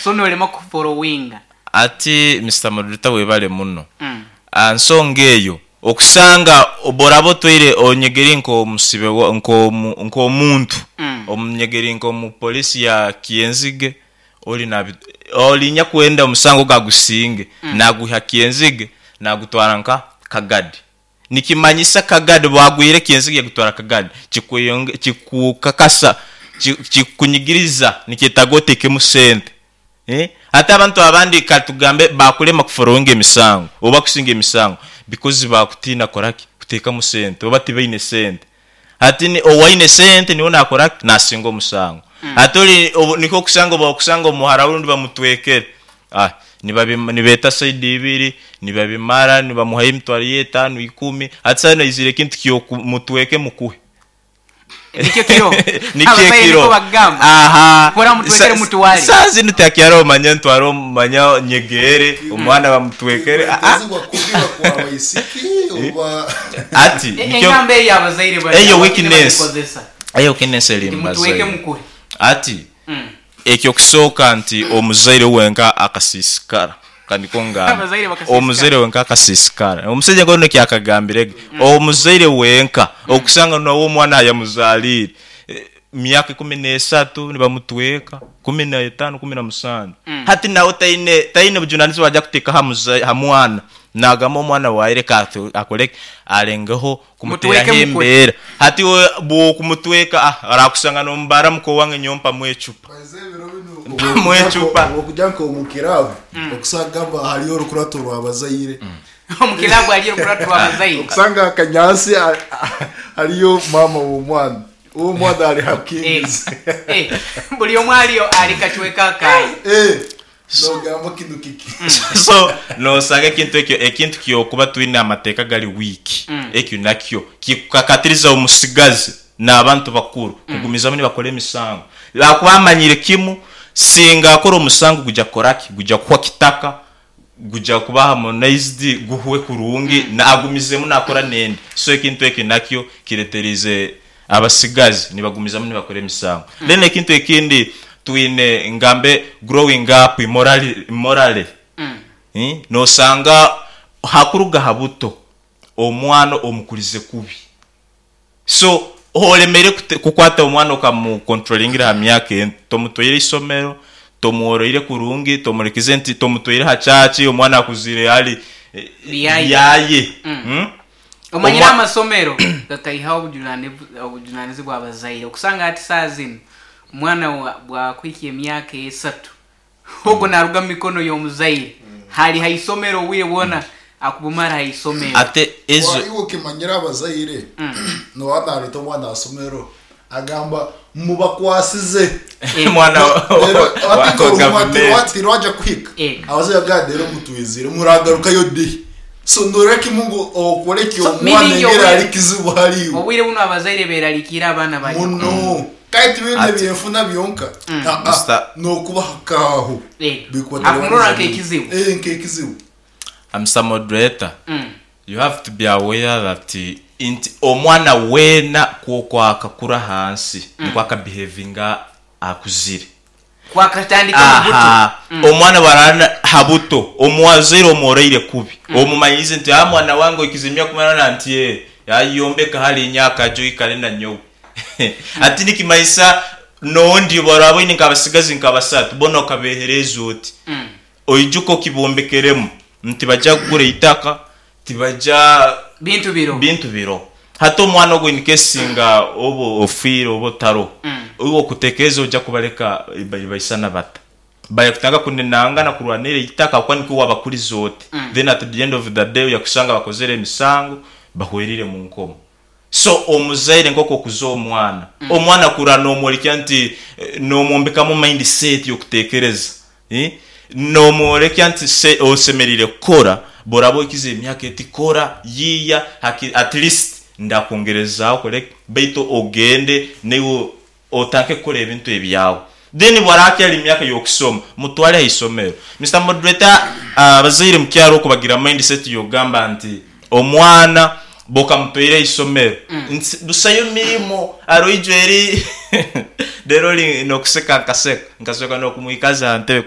So norema kuforowinga. Ati Mister Moderator webale muno. Aha nsonga eyo, okusanga bworaba otweire onyegeri nk'omusibe nk'omuntu, omunyegeri nk'omu police ya Kyenzige, ori ori nyakwenda omusango ogu agusinge, nagwiha Kyenzige nagutwara nka Kagadi. Nikimanyisa Kagadi bwagwire Kyenzige yagutwara Kagadi, kikukakasa, kikunyigiriza nikyetaaga otekemu sente. Hati abantu abandi katugambe bakulema kuforowinga emisango oba kusinga emisango because bakutiina kukoraki? Kuteekamu sente oba tibaine sente. Hati owaine sente niwe nakoraki? Nasinga omusango. Hati ori nikwo okusanga obu okusanga omuhara we rundi bamutwekere, nibeeta saidi ibiri, nibabimara, nibamuhayo emitwaro ye etaano, ikumi, hati saaha zinu aizire ekintu ky'okumutweke mukuhe. Nikyo kiro. Nikyo Abazaire ekiro. nikwo bakugamba. Aha. Hora mutwekere mutware. Saaha zinu tihakyariho manya ntware manya nyegeere omwana bamutwekere. Ah, ah. Kwetezibwa kubi bakwa abaisiki oba Ati nikyo Engamba eyo abazaire bari eyo abamwe weakness. nibagikozesa. Eyo weakness eri Nti mu mutweke bazaire. mukuhe. Ati Eky'okusooka nti omuzaire wenka akasiisikara. Ka nikwo ngambe. Abazaire bakasiisikara. Omuzaire wenka akasiisikara. Omusaija nk'onu eki akagambire ge. Omuzaire wenka, okusanga nawe omwana ayamuzaaliire, myaka ikumineesatu nibamutweka, kuminaitaano, kuminamusanju. Hati nawe taine taine bujunanizibwa aja kuteeka aha muzaire aha mwana. Naagamba omwana waaye reka akore ki? Arengeho Mutweke kumuteraho mukwe. embeera. Hati iwe bw'okumutweka, ah, arakusanga n'omubaara muka owange nyowe mpamu ecupa. Baze ebiro binu Mpamu ecupa. obwokugya nk'omu kiraabu okusanga mba hariyo orukurato rw'abazaire. Omu kiraabu hariyo orukurato rw'abazaire. Okusanga akanyaatsi hariyo maama w'omwana, ow'omwana ari ha Kings. Buri omwe ariyo ari kacweka akaye. Nogamba kinu kiki? So nosanga ekintu ekyo ekintu kyokuba twine amateeka gari weak ekyo nakyo kikukakatiriza omusigazi nabantu bakuru kugumizamu nibakora emisango ahakuba amanyire kimu singa akora omusango gugya kukoraki gugya kuhwa kitaka gugya kuba harmonized guhwe kurungi agumizemu nakora nendi so ekintu ekyo nakyo kireterize Abasigazi nibagumizamu nibakora emisango. Then ekintu ekindi twine ngambe growing up immorally, nosanga hakuruga ha buto omwana omukurize kubi. So oremeire kukwata omwana okamu controlingira aha myaka ento, tomutwaire isomero, tomworoire kurungi, tomurekize nti tomutwaire aha church, omwana akuzire ari yaye. Omanyire amasomero gakaihaho obujunanizibwa abazaire okusanga hati saaha zinu omwana bwakuhikya emyaka esatu ogwo naruga mumikono yomuzaire hari haisomero obwire bwona akubumara haisomero. Ate ezo. Iwe okimanyire abazaire noba nareta omwana ahasomero agamba mubakwasize Omwana wa gavumenti. Tirwaja kuhika abazaire bagamba reero mutwizire muragarukayo di? So norora kimwe ngu okore ki So, omwana meaning engeri obwire- ari kizibu ahariiwe. Obwire bunu abazaire berarikiire abaana bari Muno. Kandi tibiine Ati- byenfuna byonka. Aa, Mister- n'okubaha aho. Eh, Bikubaterwa akumurora n'ekizibu. nk'ekizibu. Eh, nk'ekizibu. Mister Moderator, you have to be aware that nti omwana weena ku oku akakura ahansi nikwo akabihevinga akuzire. Ku akatandika omu buto. Aha, omwana bwarara ha buto, omuzaire omworoire kubi, omumanyiize nti aa mwana wange oikize emyaka kumunana nti ee, ayombeka harinya akaju oikare na nyowe. Hati nikimanyisa n'ondi obu oraaba oine nk'abasigazi nka basatu, boona okabeehereeza oti. Oijuke okibombekeremu nti tibajya kugura eitaka, tibajya. Bintu biroho. Bintu biroho. Hati omwana ogwo in case singa oba ofiire oba otaroho, iwe okutekereza oija kubareka nibaisana bata? Baija kutandika kunenangana kurwanira eitaka ahabw'okuba nikwo wabakurize oti. Then at the end of the day oija kushanga bakozire emisango, bahwereire omu nkomo. So omuzaire nk'oku okuza omwana, omwana akura nomworekya nti nomwombekamu mind set y'okutekereza, nomworekya nti osemereire kukora, bworaba ohikize emyaka eti kora, yiiya hakiri at least ndakwongerezaaho okore ki, baitu ogende naiwe otandike kukora ebintu ebyawe. Then bwaraba akyari omu myaka y'okusoma, mutware aha isomero. Mister Moderator, abazaire omu kyaro okwo bagira mind set y'okugamba nti omwana bw'okamutwaire aha isomero nti busayo mirimo, aroija eri reero ori n'okuseka nkaseka, nkashoka n'okumwikaza aha ntebe.